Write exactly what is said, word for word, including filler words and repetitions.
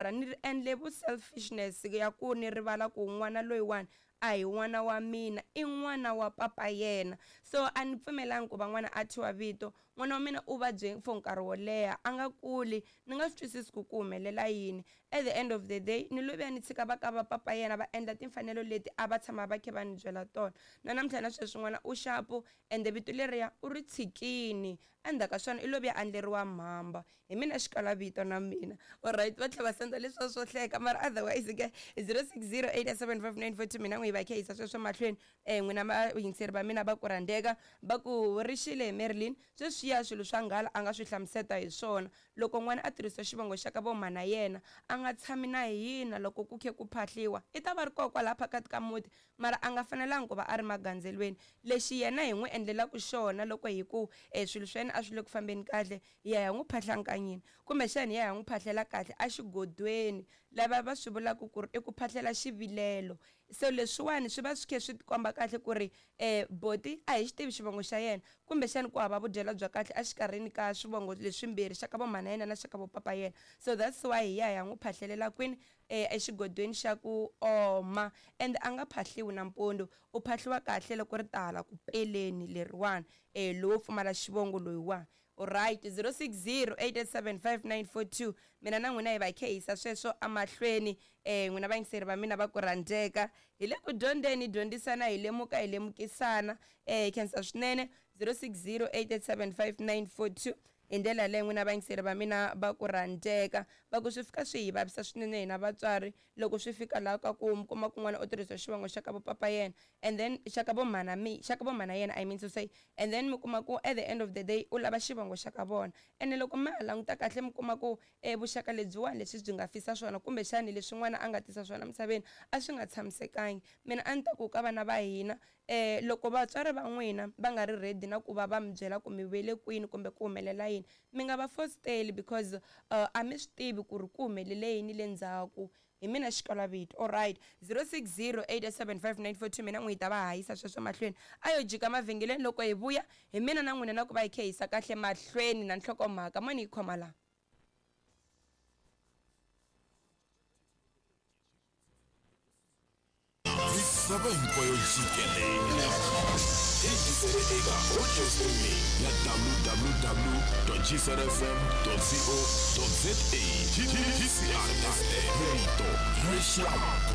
Ni endle vu selfishness ya ku ni rivala ku n'wana loyiwani a hi n'wana wa mina, i n'wana wa papa yena. So a ni pfumelangi ku va n'wana a thyiwa vito. N'wana wa mina u vabye for nkarhi wo leha a nga kuli, ni nga swi twisisi ku ku humelela yini. At the end of the day ni lo vuya ni tshika va ka va papa yena va endla timfanelo leti a va tshama va kha va ni byela tona. Na namuntlha na sweswi n'wana u xapu, ende vito leriya u ri tshikini. Endzhaku ka swona i lo vuya a endleriwa mhamba. Hi mina xikala vito na mina. Alright, va tlhela va senda leswiya swo hleka, mara otherwise ke zero six zero eight seven five nine four two mina n'wi hi va kha yisa sweswo mahlweni. um n'wina vayingiseri va mina va ku rhandzeka, va ku rixile hi Marilyn. Sweswiya swilo swa nghala a nga swi hlamuseta hi swona. Loko n'wana a tirhisa xivongo xa ka vo mhana yena, a nga tshami na hina loko ku khe ku phahliwa, i ta va ri kona kwalaya phakathi ka muti, mara a nga fanelangi ku va a ri magandzelweni. Lexi yena hi n'wi endlelaka xona loko hi ku um swilo swa yena a swi le ku fambeni kahle, hi ya hi ya n'wi phahla nkanyini, kumbexana hi ya hi ya n'wi phahlela kahle exigodweni, lava va swi vulaka ku ri i ku phahlela xivilelo. So leswiwani swi va swi khe swi tikomba kahle ku ri um boti a hi xi tivi xivongo xa yena, kumbexana ku hava vudyela bya kahle exikarhini ka swivongo leswimbirhi, xa ka vo mhana yena na xa ka vo papa yena. So that's why hi ya hi ya n'wi phahlelela kwini, um exigodweni xa ku oma. Ende a nga phahliwi nampundzu, u phahliwa kahle loko ri ta hala ku peleni leriwani, um lowo pfumala xivongo loyiwani. Alright, zero six zero eight eight seven five nine four two mina na n'wina hi va hi kha hi yisa sweswo emahlweni. um n'wina vayingiseri va mina va ku rhandzeka, hi le ku dyondzeni, hi dyondzisana, hi lemuka, hi lemukisana. um hi khensa swinene. Zero six zero eight eight seven five nine four two hi ndlela yaleyo n'wina vayingiseri va mina va ku rhandzeka. Va ku swi fika swi hi vavisa swinene hina vatswari loko swi fika laha ka ku mi kuma ku n'wana u tirhisa xivongo xa ka vo papa yena, and then xa ka vo mhana mi xa ka vo mhana yena, I mean to say, and then mi kuma ku at the end of the day u lava xivongo xa ka vona. Ene loko ma ha languta kahle mi kuma ku um vuxaka lebyiwani leswi byi nga fisa swona, kumbexani leswi n'wana a nga tisa swona emisaveni a swi nga tshamisekangi. Mina a ni ta ku ka vana va hina, um loko vatswari va n'wina va nga ri ready na ku va va mi byela ku mi vuyele kwini kumbe ku humelela yini, mi nga va fositeli, because uh, a mi swi tivi ku ri ku humelele yini le ndzhaku. Hi mina xikalavito. Alright, zero six zero eight seven five nine four two mina n'wi hi ta va hahisa sweswo mahlweni. A yo jika mavhengeleni loko hi vuya, hi mina na n'wina na ku va hi kha hi yisa kahle mahlweni na nhlokomhaka. Mani yi khoma laha. Misava hinkwayo jikelele hi yingisele eka audio streaming ya w w w dot g c r f m dot co dot za. G C R F M, rito leswaku